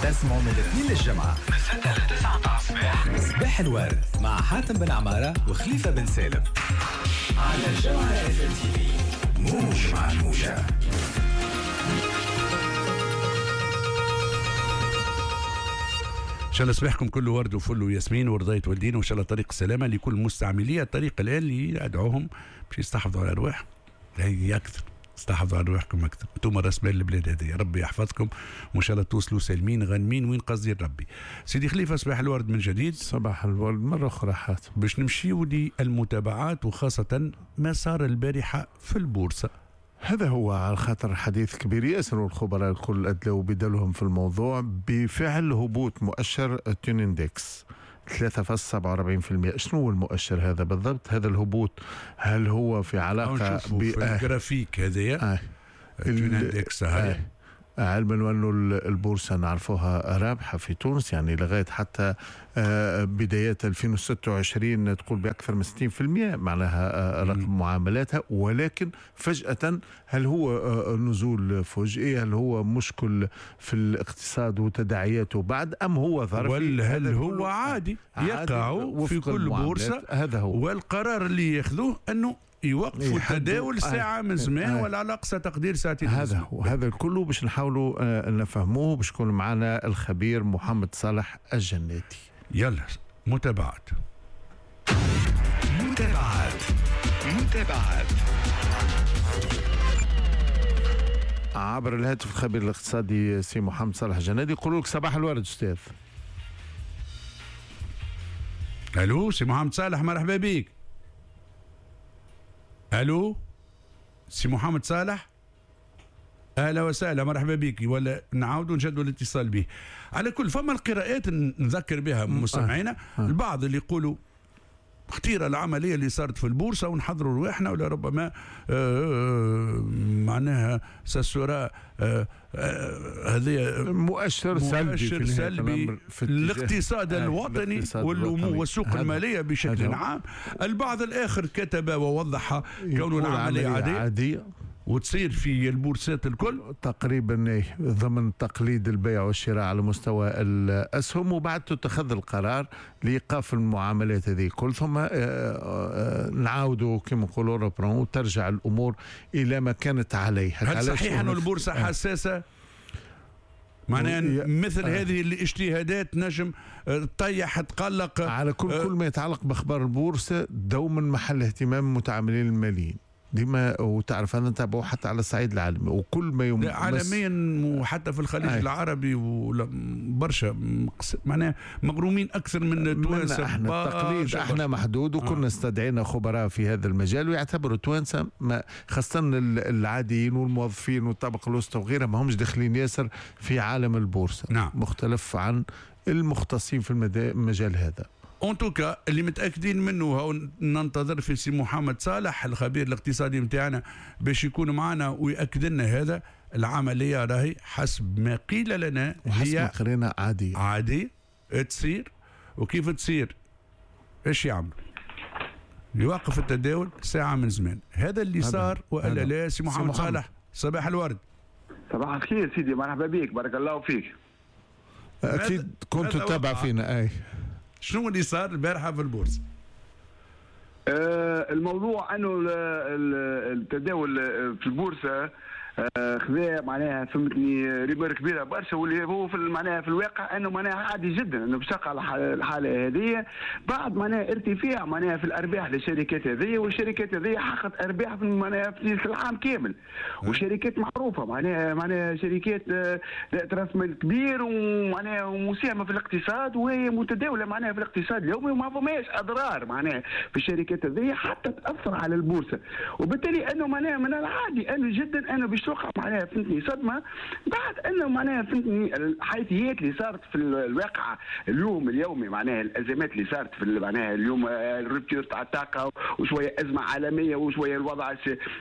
تسمعوا من الاثنين للجمعة من 6 ل 9 متاع الصباح، صباح الورد مع حاتم بن عمارة وخليفة بن سالم على الجوهرة اف ام تي في، موج مع الموجة. ان شاء الله صباحكم كله ورد وفل وياسمين ورضاية والدين، وان شاء الله طريق السلامة لكل مستعملي الطريق الان اللي ادعوهم باش يستحفظوا على ارواحهم. هي اكثر، استحفظوا على ارواحكم اكثر، انتم راس مال البلاد هذه، ربي يحفظكم وان شاء الله توصلوا سالمين غانمين وين قصدي ربي. سيدي خليفة صباح الورد من جديد. صباح الورد مرة اخرى حاتم. باش نمشيو للمتابعات وخاصة ما صار البارحة في البورصة. هذا هو على خاطر حديث كبير ياسر، والخبراء الكل أدلوا بدلهم في الموضوع بفعل هبوط مؤشر Tunindex 3.47%. شنو هو المؤشر هذا بالضبط؟ هذا الهبوط هل هو في علاقة بالجرافيك هذايا؟ Tunindex هاي. علما وأنه البورصة نعرفوها رابحة في تونس، يعني لغاية حتى بدايات 2026 تقول بأكثر من 60% معناها رقم معاملاتها، ولكن فجأة هل هو نزول فجئي؟ هل هو مشكل في الاقتصاد وتداعياته بعد، أم هو ظرفي؟ ولا هل هو عادي يقع في كل بورصة؟ هذا هو، والقرار اللي ياخذوه أنه يوقفوا التداول ساعة من زمان ولا على أقصى تقدير ساعتين. هذا هو، هذا الكل باش نحاولوا نفهموه، باش يكون معنا الخبير محمد صالح الجناتي. يلا متابعات. متابعات متابعات عبر الهاتف الخبير الاقتصادي سي محمد صالح الجناتي. يقولوا لك صباح الورد أستاذ. ألو سي محمد صالح، مرحبا بك. الو سي محمد صالح، اهلا وسهلا، مرحبا بك. ولا نعاودوا نجدوا الاتصال به. على كل فما القراءات نذكر بها مستمعينا، البعض اللي يقولوا خطيرة العملية اللي صارت في البورصة ونحضروا رواحنا، ولا ربما معناها سسورا هذه مؤشر سلبي في الاقتصاد الوطني والسوق المالية بشكل عام. البعض الاخر كتب ووضح كون العملية عادية وتصير في البورصات الكل تقريبا ضمن تقليد البيع والشراء على مستوى الاسهم، وبعد تتخذ القرار لايقاف المعاملات هذه الكل، ثم نعاودوا كما نقولوا reprend وترجع الامور الى ما كانت عليه. هل صحيح أن البورصة حساسة؟ معناها مثل هذه الاجتهادات نجم تطيح تقلق على كل ما يتعلق باخبار البورصة دوما محل اهتمام المتعاملين الماليين ديما، وتعرف انا نتابعه حتى على الصعيد العالمي وكل ما عالميا وحتى في الخليج العربي وبرشا معناها مغرومين اكثر من التوانسة. احنا التقليد احنا محدود، وكنا استدعينا خبراء في هذا المجال ويعتبروا التوانسة خاصة العاديين والموظفين والطبقة الوسطى وغيرها ما همش داخلين ياسر في عالم البورصة. نعم. مختلف عن المختصين في المجال هذا. en tout cas اللي متاكدين منه هو ننتظر في سي محمد صالح الخبير الاقتصادي نتاعنا باش يكون معنا ويأكد لنا هذا. العملية راهي حسب ما قيل لنا هي قرينا عادية عادي تصير، وكيف تصير ايش يعمل؟ يوقف التداول ساعة من زمان. هذا اللي صار والا لا؟ سي محمد صالح صباح الورد. صباح الخير سيدي، مرحبا بك، بارك الله فيك. اكيد كنت تتابع فينا. اي شنو اللي صار البارحة في البورصة؟ الموضوع انه التداول في البورصة خذا معناها فهمتني rumeur كبيرة برشا، واللي هو في معناها في الواقع انه معناها عادي جدا انه باش تقع الحالة هذه بعد معناها ارتفاع معناها في الارباح للشركات هذه، والشركات هذه حققت ارباح في معناها في العام كامل، وشركات معروفة معناها شركات ذات راس مال كبير ومعناها ومساهمه في الاقتصاد، وهي متداوله معناها في الاقتصاد اليومي، وما فماش اضرار معناها في الشركات هذه حتى تاثر على البورصة، وبالتالي انه معناها من العادي انه جدا انه باش توقع معناها فهمتني صدمة بعد انه معناها فهمتني الحيثيات اللي صارت في الواقع اليوم اليومي، معناها الازمات اللي صارت في معناها اليوم ال rupture تاع الطاقة وشوية ازمة عالمية وشوية الوضع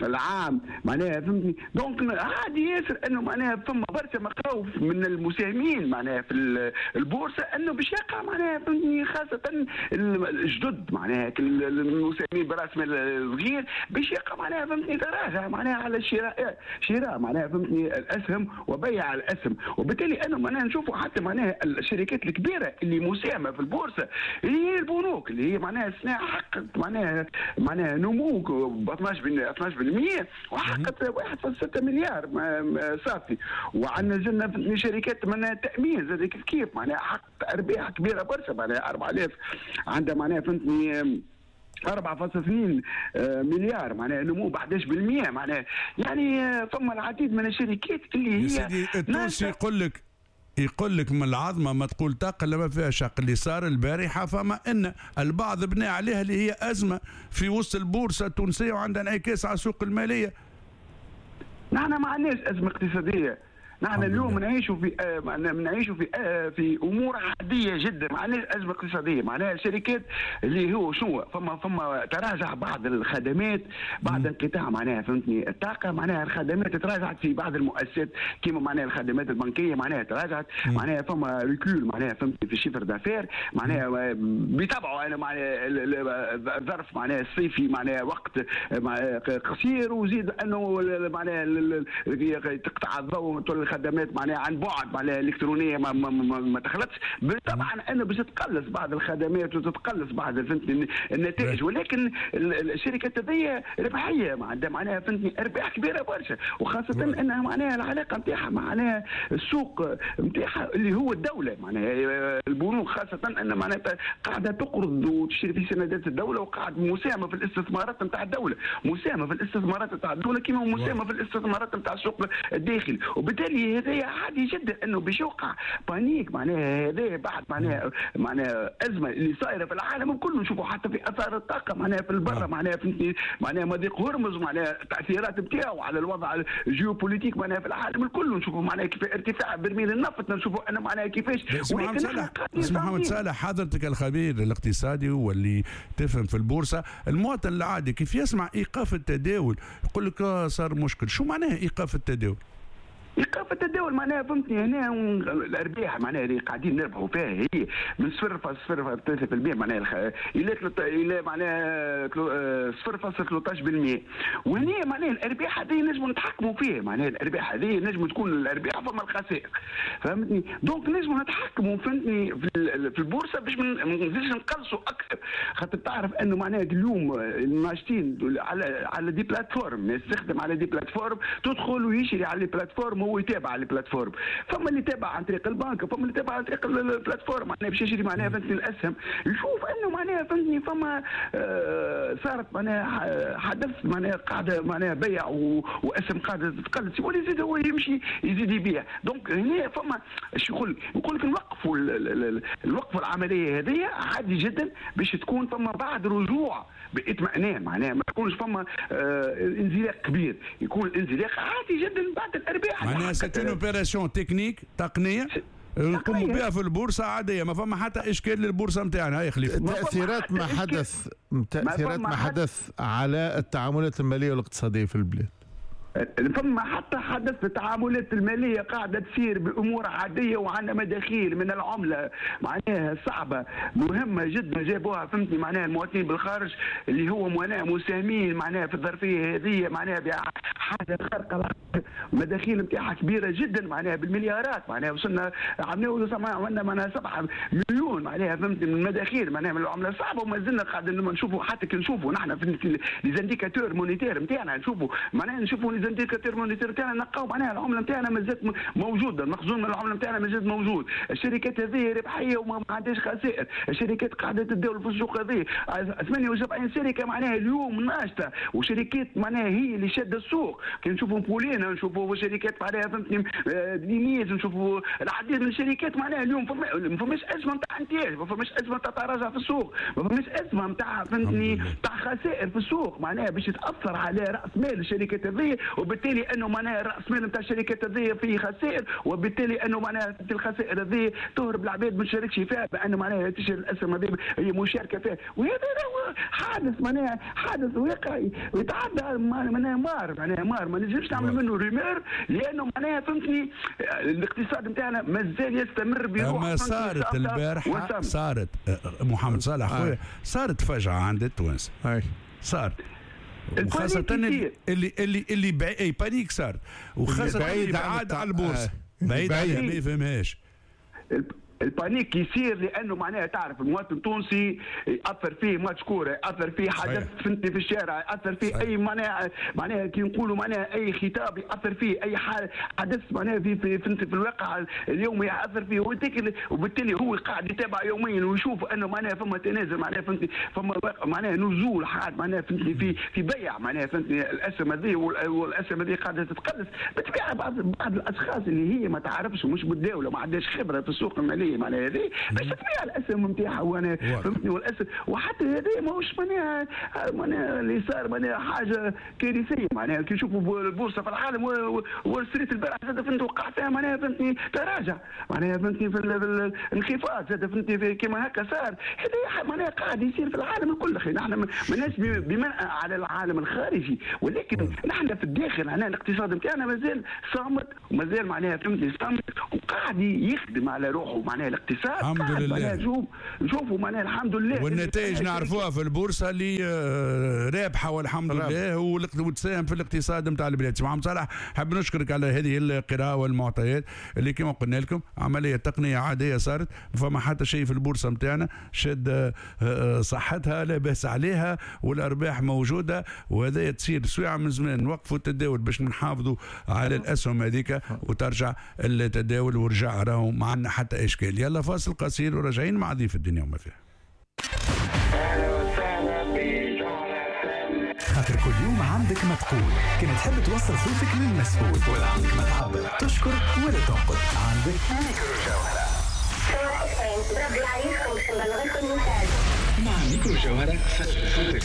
العام معناها فهمتني. donc عادي ياسر انه معناها فما برشا مخاوف من المساهمين معناها في البورصة انه باش يقع معناها فهمتني خاصة الجدد معناها المساهمين براس مال صغير باش يقع معناها فهمتني تراجع معناها على الشراء شراء معناها فهمتني الاسهم وبيع الاسهم. وبالتالي انا معناها نشوفوا حتى معناها الشركات الكبيرة اللي مساهمة في البورصة هي البنوك اللي هي معناها السنة حققت معناها نمو ب 12% وحققت 1.6 مليار صافي. وعندنا زلنا شركات معناها التامين زاد كيف كيف معناها حققت ارباح كبيرة برشا معناها 4000 عندها معناها فهمتني 4.2 مليار معناها نمو ب 11% معناها. يعني ثم العديد من الشركات اللي هي يا سيدي التونسي يقول لك من العظمة ما تقول طاقة لا ما فيها شق. اللي صار البارحة فما ان البعض بنى عليها اللي هي ازمة في وسط البورصة التونسية وعندها انعكاس على السوق المالية. نحن ما عندناش ازمة اقتصادية، نحن اليوم نعيشوا في في امور عادية جدا، ما عندناش ازمة اقتصادية. معناها الشركات اللي هو شنو فما تراجع بعض الخدمات بعد انقطاع معناها فهمتني الطاقة، معناها الخدمات تراجعت في بعض المؤسسات كيما معناها الخدمات البنكية معناها تراجعت، معناها فما recul معناها فهمتني في ال chiffre d'affaires معناها بيتبعوا انا معناها الظرف معناها الصيفي معناها وقت قصير، وزيد انه معناها تقطع الضوء الخدمات معناها عن بعد معناها الالكترونية ما, ما, ما, ما تخلطش. طبعا انا باش تقلص بعض الخدمات وتتقلص بعض فهمتني النتائج، ولكن الشركات هذه ربحية معناها فهمتني ارباح كبيرة برشا، وخاصة انها معناها العلاقة نتاعها معناها السوق نتاعها اللي هو الدولة معناها البنوك، خاصة ان معناها قاعدة تقرض وتشتري في سندات الدولة وقاعد مساهمة في الاستثمارات نتاع الدولة، مساهمة في الاستثمارات نتاع الدولة كما مساهمة في الاستثمارات نتاع السوق الداخلي. وبالتالي هذا عادي جدا انه باش يوقع panique معناها هذا بعد معناها ازمة اللي صايرة في العالم كله، نشوفوا حتى في اثار الطاقة معناها في البر معناها معناها مضيق هرمز معناها التاثيرات نتاعو على الوضع ال géopolitique معناها في العالم الكل، نشوفوا معناها كيف ارتفاع برميل النفط، نشوفوا انا معناها كيفاش. محمد صالح حضرتك الخبير الاقتصادي واللي تفهم في البورصة، المواطن العادي كيف يسمع ايقاف التداول يقول لك صار مشكل، شو معناها ايقاف التداول؟ ايقاف التداول معناها فهمتني هنا الارباح معناها اللي قاعدين نربحوا فيها هي من 0.03% معناها الى معناها 0.13%، وهنا معناها الارباح هذه نجموا نتحكموا فيها، معناها الارباح هذه نجم تكون الارباح فما الخسائر فهمتني، donc نجموا نتحكموا فهمتني في البورصة باش ما نزيدش نقلصوا اكثر، خاطر تعرف انه معناها اليوم الناشطين على des plateformes، الناس تخدم على des plateformes، تدخل ويشري على les plateformes، هو يتابع على ال plateforme، فما اللي تابع عن طريق البنك، فما اللي تابع عن طريق ال plateforme معناها باش يشري معناها فهمتني الاسهم، يشوف انه معناها فهمتني فما صارت معناها حدث معناها قاعدة معناها بيع واسهم قاعدة تتقلص، يولي يزيد هو يمشي يزيد يبيع. donc هنا فما اش يقول لك نوقفوا نوقفوا العملية هذه عادي جدا باش تكون فما بعد رجوع باطمئنان، معناها ما يكونش فما انزلاق كبير، يكون الانزلاق عادي جدا بعد الارباح. معناها c'est une opération technique تقنية نقوموا بها في البورصة عادية، ما فما حتى اشكال للبورصه نتاعنا. هاي خليفة تاثيرات ما حدث، تاثيرات ما حدث على التعاملات المالية والاقتصادية في البلاد. فما حتى حدث التعاملات المالية قاعدة تصير بامور عادية، وعندنا مداخيل من العملة معناها صعبة مهمة جدا جابوها فهمتني معناها المواطنين بالخارج اللي هو معناها مساهمين معناها في الظرفية هذه معناها بحاجة خارقة، المداخيل نتاعها كبيرة جدا معناها بالمليارات، معناها وصلنا عملنا معناها 7 مليون معناها فهمتني من المداخيل معناها من العملة الصعبة، وما زلنا قاعدين نشوفوا حتى كي نشوفوا نحن في les indicateurs monétaires نتاعنا نشوفوا معناها نشوفوا les indicateurs monétaires تاعنا نلقاو معناها العملة نتاعنا مازالت موجودة، المخزون من العملة نتاعنا مازال موجود، الشركات هذه ربحية وما عندهاش خسائر، الشركات قاعدة تتداول في السوق هذه 78 شركة معناها اليوم ناشطة، وشركات معناها هي اللي شاده السوق، كي نشوفوا بولينا نشوفوا شركات معناها فهمتني دينيز، نشوفوا العديد من الشركات معناها اليوم ما فماش ازمة نتاع انتاج، ما فماش ازمة نتاع تراجع في السوق، ما فماش ازمة نتاع فهمتني نتاع خسائر في السوق معناها باش تاثر على راس مال الشركات هذه، وبالتالي انه معناها راس مال نتاع الشركات هذه فيه خسائر، وبالتالي انه معناها الخسائر هذه تهرب العباد ما تشاركش فيها، بانه معناها تشتري الاسهم هذه هي مشاركة فيها، وهذا حادث معناها حادث واقعي ويتعدى معناها مار ما نجمش نعمل منه rumeur، لانه معناها فهمتني الاقتصاد نتاعنا مازال يستمر بروح. ما صارت البارحة صارت محمد صالح خويا صارت فجعه عند التوانسة، صارت وخاصة اللي اللي اللي اي panique صار، وخاصة اللي بعاد على البورصة، بعيد عليها ما يفهمهاش. ال panique يصير لانه معناها تعرف المواطن التونسي ياثر فيه ماتش كورة، ياثر فيه حدث فهمتني في الشارع، ياثر فيه اي معناها كي نقولوا معناها اي خطاب ياثر فيه، اي حدث معناها في فهمتني في الواقع اليومي ياثر فيه، وبالتالي هو قاعد يتابع يوميا ويشوف انه معناها فما تنازل، معناها فهمتني فما معناها نزول حاد معناها فهمتني في بيع معناها فهمتني الاسهم هذه، والاسهم هذه قاعدة تتقلص. بالطبيعة بعض الاشخاص اللي هي ما تعرفش ومش متداوله وما عندهاش خبره في السوق المالية معناها هذه باش تبيع الاسهم نتاعها، وانا فهمتني والاسهم، وحتى هذه ماهوش معناها اللي صار معناها حاجة كارثية. معناها كي نشوفوا البورصة في العالم وول ستريت البارح زاد فهمت وقع فيها معناها فهمتني تراجع معناها فهمتني في الانخفاض زاد فهمتني كيما هكا صار. هذا معناها قاعد يصير في العالم الكل. اخي نحن ماناش بمنأى على العالم الخارجي، ولكن نحن في الداخل معناها الاقتصاد نتاعنا مازال صامت ومازال معناها فهمتني صامت وقاعد يخدم على روحه معناها الاقتصاد. الحمد لله نشوفوا معناها الحمد لله، والنتائج نعرفوها في البورصة اللي رابحه والحمد لله، وتساهم في الاقتصاد نتاع البلاد. سي محمد صالح، حاب نشكرك على هذه القراءة والمعطيات اللي كما قلنا لكم عملية تقنية عادية صارت، فما حتى شيء في البورصة نتاعنا شاد صحتها لا باس عليها والارباح موجودة، وهذا تصير سويعه من زمان نوقفوا التداول باش نحافظوا على الاسهم هذيك وترجع التداول ورجع راهو ما عندنا حتى اشكال. يلا فاصل قصير وراجعين مع ضيف الدنيا وما فيها. خاطر كل يوم عندك ما تقول، كان تحب توصل صوتك للمسؤول ولا عندك ما تعبر، تشكر ولا تنقد، عندك ميكرو جوهرة. مع ميكرو جوهرة صوتك.